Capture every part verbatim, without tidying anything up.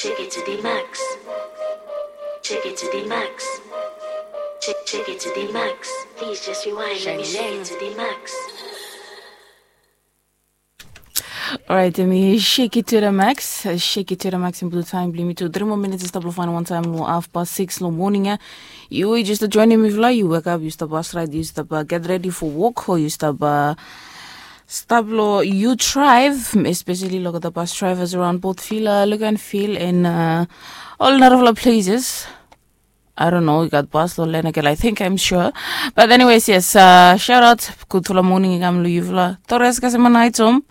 Check it to the max. Check it to the max. Check, check it to the max. Please just rewind. Let me shake it to the max. Alright, mi shake it to the max. Shake it to the max in blue time. Blimi tu three more minutes. Stop lo fine one time lo half past six lo morning ya. Yu just joining me vla. Yu wake up, yu stop bus ride, yu stop uh, get ready for work, or yu stop uh, stop lo yu drive, especially lo the bus drivers around both Villa, look and feel, and uh, all narafla places. I don't know, we got bus lo Lenakel, I think, I'm sure. But anyways, yes, uh, shout out, gudfala morning i kam lo yufala. Torres kasemanaitom,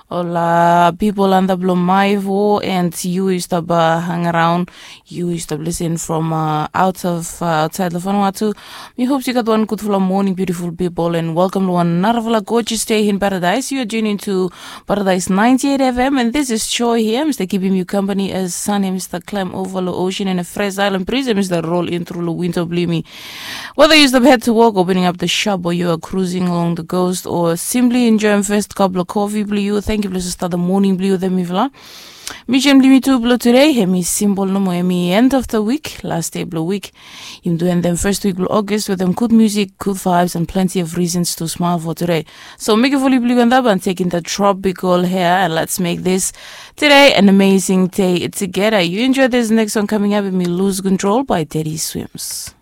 ol uh, people anda blo Maivo, and yu yu stop uh, hang around, yu yu stop listen from uh, out of uh, outside lo Vanuatu. Mi hopes yu gat wan gudfala morning, beautiful people, and welcome lo wan narafala gorgeous day in paradise. You are tuning to Paradise ninety-eight F M, and this is Joy here. Mi stap kipim yu company as sun mi stap climb over lo ocean, and a fresh island breeze mi stap roll in through lo window blimi. Whether yu stap head to work, opening up the shop, or you are cruising along the coast, or simply enjoying first cup lo coffee blo yu, thank you blo start the morning blo yu, them mifla. Mission blimi tu blo today, hemi simple nomo, hemi end of the week, last day blo week. Yumi tu end them first week blo August with them good music, good vibes, and plenty of reasons to smile for today. So make a fully blue and up and take in the tropical hair, and let's make this today an amazing day together. You enjoy this next song coming up, and me Lose Control by Teddy Swims.